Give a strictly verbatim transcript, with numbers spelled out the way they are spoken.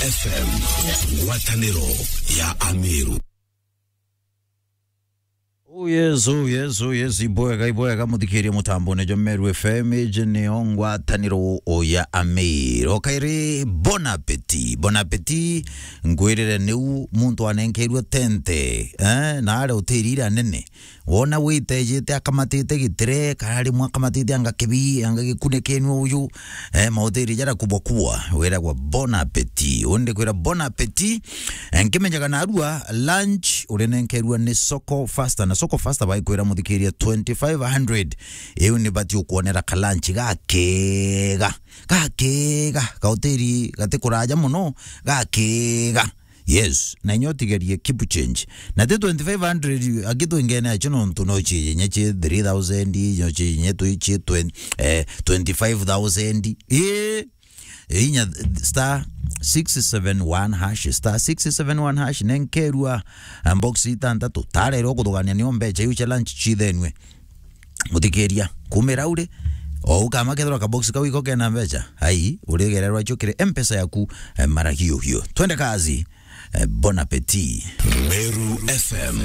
F M, ngwatanĩro ya Ameru. Oh yes, oh yes, oh yes, ibwega, ibwega, muthikirie mutambone jo Meru F M, iji nio ngwataniro ya Ameru. Kairi, bon appetit, bon appetit, ngwirire niu muntu anenkeirwe tente, eh, na aria hoteli iria nene. Wona witejete akamatite gitire, kana rimwe akamatite anga kibi, anga gikune kenu uyu, eh, mahoteli jara kubwa kubwa, wiragwa bon appetit. Undi kwira bon appetit, eh, nkimenyaga narua lunch urinenkerua ni Soko Fasta, na Soko Fasta baikwira muthikiria twenty-five hundred. Iu ni bati ukwonera ka lunch gakega, gakega, ka hoteli gati kuraja muno, gakega. Yes, na inya utigerie keep change. Na ti twenty-five hundred, aki twingene acho nontu no chi inya chi three thousand, no chi inya twi chi twenty, eh, twenty-five thousand. Eh, inya star six seven one hash, star six seven one hash, nenkerua, um, box itantatu. Tarerwo kuthugania nio mbecha iu cia lunch chithenue. Muthikiria, kumira uri, o ukama kethirwa ka box kau iko kena mbecha, ai, urigererwa icio kiri M-Pesa yaku, eh, mara hiyo hiyo. Twende kazi, eh, bon appetit. Meru F M,